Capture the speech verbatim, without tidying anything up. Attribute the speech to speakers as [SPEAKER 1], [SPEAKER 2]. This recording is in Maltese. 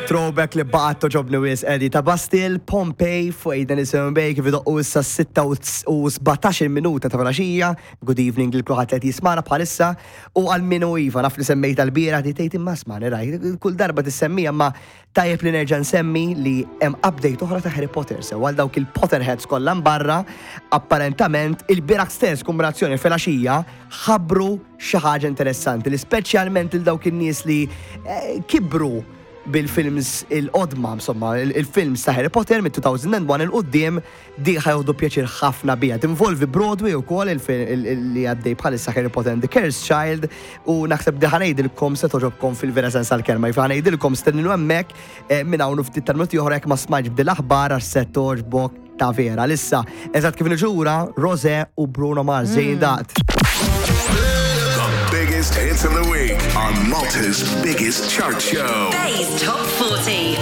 [SPEAKER 1] Throwback li baqgħet togħġobni wisq, Eddie, ta' Bastille, Pompeii, fuq Eight ninety-seven Bay, kif idoqqu issa sitta u sbatax-il minuta ta' filgħaxija. Good evening lil kulħadd li qed jismagħna bħalissa. U għal minu iva, naf li semmejt għal-bira, di tgħid imma smani raj, kull darba tissemmija, ma tajjeb li nerġa' nsemmi li hemm update oħra ta' Harry Potter, sew għal dawk il-Potterheads kollha barra, apparentament il-bieraħ stess, kombinazzjoni filgħaxija, ħabbru xi ħaġa interessanti li speċjalment il dawk in-nies li eh, kibru bil-films il-qodma, insomma, il- il-films ta' Harry Potter mit-elfejn u wieħed 'il quddiem, di ħa jieħdu pjaċir ħafna bija. Tinvolvi Broadway u kol li għaddej bħalissa Harry Potter and the Cursed Child u naħseb di ħa ngħidilkom se togħġobkom fil-vera sens għal-kelma. Ħa ngħidilkom stenninu hemmhekk eh, minn hawn u ftit tal-minuti oħra jekk ma smajtx b'dil aħbar għax se togħġbok ta' vera. Lissa, eżatt kif niġura, Rosé u Bruno Mars ġejjin dat.
[SPEAKER 2] The biggest hits of the week on Malta's biggest chart show.
[SPEAKER 3] Bay's Top forty